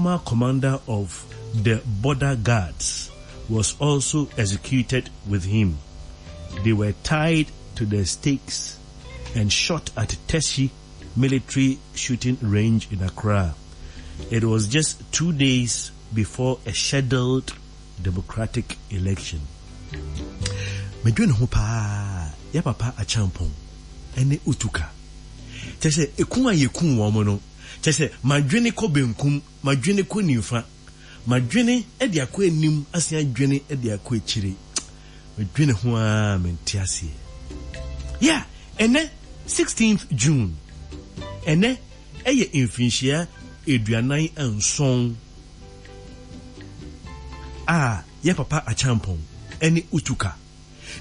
former commander of the border guards, was also executed with him. They were tied to the stakes and shot at Teshie military shooting range in Accra. It was just two days before a scheduled democratic election. Medwene ho paa, yɛ papa Acheampong ne Utuka. Kyerɛ sɛ, eku a yɛkuu wɔn no, kyerɛ sɛ, madwene kɔ benkum, madwene kɔ nimfa, madwene de akɔ anim asan adwene de akɔ akyire. Medwene ho ara mente aseɛ. Yeah, ɛnɛ 16th June, ɛnɛ ɛyɛ mfinhyia 47 a yɛ papa Acheampong ne Utuka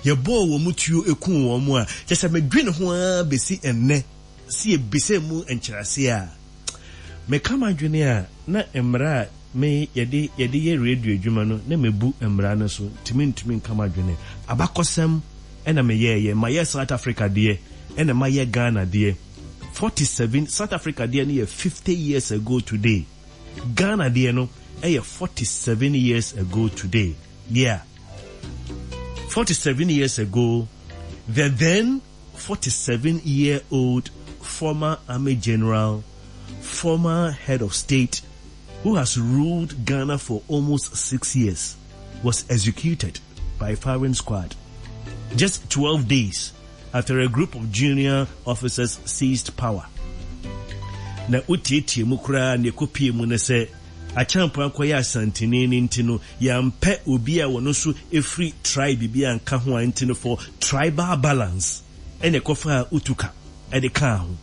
yɛbɔɔ wɔn tuo kuu wɔn a, kyerɛ sɛ medwene ho ara bɛsi ɛnnɛ sɛ yɛbisa mu nkyerɛaseɛ a, meka m'adwene a na mmara a me yɛde yɛde yɛ radio adwuma no na mebu mmara no so nti mentumi nka m'adwene. Abakɔsɛm na meyɛeɛ, mayɛ South Africa deɛ ɛna mayɛ Ghana deɛ. 47, South Africa deɛ no yɛ 50 years ago today. Ghana deɛ no yɛ 47 years ago today. Yeah. 47 years ago, the then 47 year old former army general, former head of state, who has ruled Ghana for almost six years, was executed by firing squad. Just 12 days after a group of junior officers seized power. Na wotietie mu koraa na ɛkɔpie mu no sɛ Acheampong akɔyɛ Asanteni no nti no yɛampɛ obi a ɔno nso firi tribe bi anka ho a nti no for tribal balance ɛna ɛkɔfaa Utuka de kaa ho.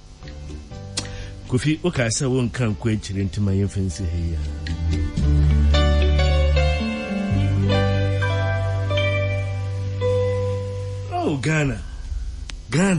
Kofi wokaa sɛ wonka nkɔ akyire nti ma yɛmfa nsi ha yi ara. Oh Ghana, Ghana.